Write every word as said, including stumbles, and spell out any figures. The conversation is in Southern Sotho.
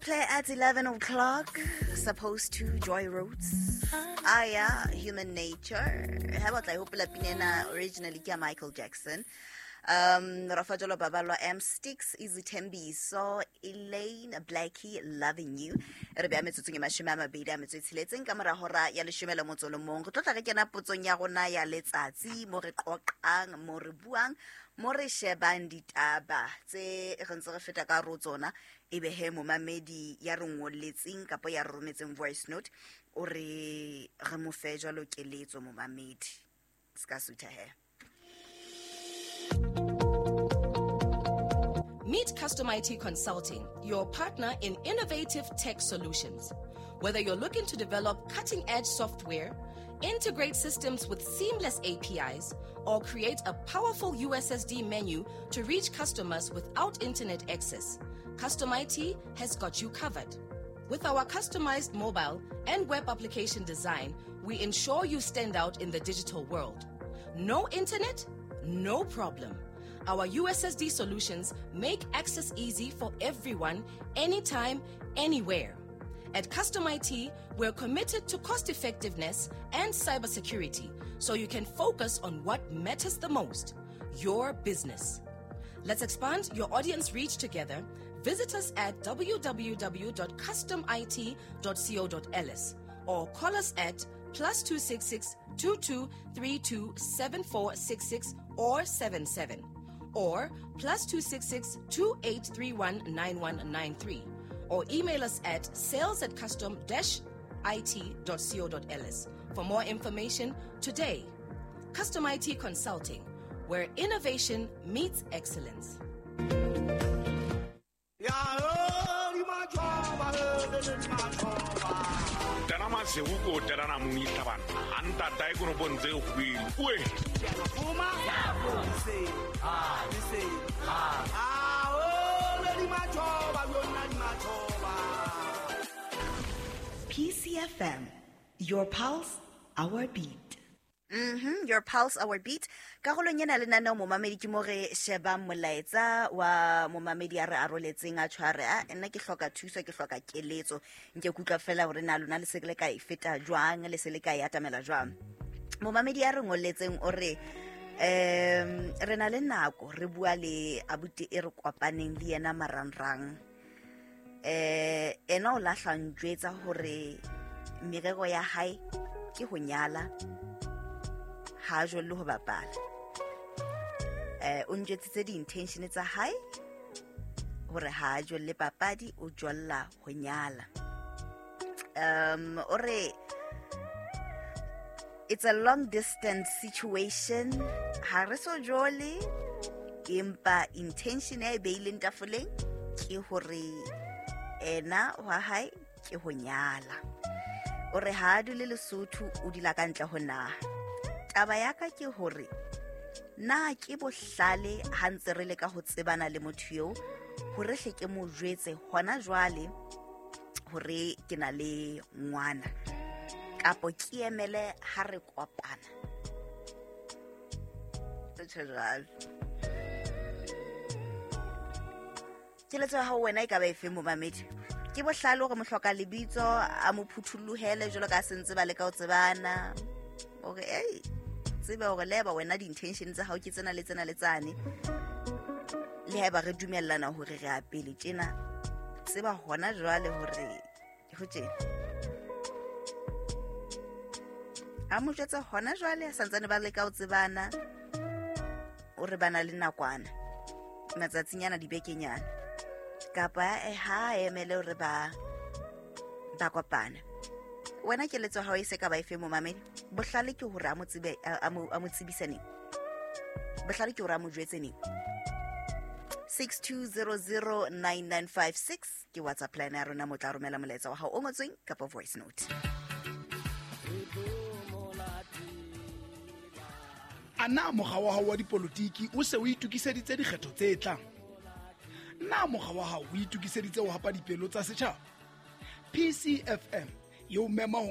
Play at eleven o'clock, supposed to Joy Roots. Ah, yeah, Human Nature. How about I hope ena originally ke Michael Jackson. Um, Rafa Jolo Babalwa M Sticks, Izithembiso, Elaine Blackie, Loving You. Re beya metsotsong e mashome a mabedi a metso e tsheletseng ka mora hora ya leshome le motso le mong. Re tlo tla re kena potsong ya rona ya letsatsi mo re qoqang, mo re buang, mo re shebang ditaba tse re ntse re feta ka ro tsona. Ebe he momamedi ya re ngolletseng kapa ya re rometseng voice note o re re mo fe jwalo keletso momamedi. Ska sutha he. Meet Custom I T Consulting, your partner in innovative tech solutions. Whether you're looking to develop cutting-edge software, integrate systems with seamless A P Is, or create a powerful U S S D menu to reach customers without internet access, Custom I T has got you covered. With our customized mobile and web application design, we ensure you stand out in the digital world. No internet? No problem. Our U S S D solutions make access easy for everyone, anytime, anywhere. At Custom I T, we're committed to cost effectiveness and cybersecurity, so you can focus on what matters the most, your business. Let's expand your audience reach together. Visit us at w w w dot custom i t dot co dot l s or call us at plus two six six, two two three two seven four six six or seven seven or plus two six six, two eight three one nine one nine three or email us at sales at custom dash i t dot co dot l s for more information today. Custom I T Consulting, where innovation meets excellence. P C F M, your pulse, our beat. Mm-hmm. Your pulse, our beat. Karolong ena lenaneo momamedi ke mo re shebang molaetsa wa momamedi a re aroletseng a tshware a nna ke hloka thuso, ke hloka keletso. Nke ke utlwa fela hore na lona le se le ka e feta jwang, le se le ka e atamela jwang. Momamedi a re ngolletseng o re em re na le nako re bua le abuti e re kopaneng le yena marangrang. Eh ena o lahla njwetsa hore merero ya hae ke ho nyala, ha jwale ho bapala. Eh o njwetsitse di-intention tsa hae hore ha jwale papadi o jwalla ho nyala. Um o re it's a long distance situation, ha re so jole, empa intention e beileng tafoleng ke hore ena wa hae ke ho nyala. O re ha dule Lesotho, o dula ka ntle ho naha. Taba ya ka ke hore na ke bohlale ha ntse re leka ho tsebana le motho eo hore hle ke mo jwetse hona jwale hore ke na le ngwana, kapo ke emele ha re kopana. Tjhe jwale. Keletso ya hao wena e ka ba efe momamedi? Ke bohlale hore mohloka lebitso a mo phuthulohele jwalo ka sentse ba leka ho tsebana. Hore ei tsebe hore leba wena di-intention tsa hao ke tsena le tsena le tsane, le haeba re dumellana hore re a pele tjena, tseba hona jwale hore ho tjena. A mo jwetsa hona jwale a santsane ba leka ho tsebana, o re bana le nakwana matsatsinyana dibekenyana, kapa eh ha emele hore ba ba kopana. Wena keletso hao e se ka ba efe momamedi? Bohlale ke hore a mo tsebe, a mo a mo tsebise neng? Bohlale ke hore a mo jwetse neng? six two zero zero nine nine five six ke WhatsApp line ya rona, mo tla romela molaetsa wa hao o ngotsweng kapa voice note. A na mokga wa hao wa dipolotiki o se o itokiseditse dikgetho tse tlang? Na mokga wa hao o itokiseditse ho hapa dipelo tsa setjhaba? P C F M yo mema ho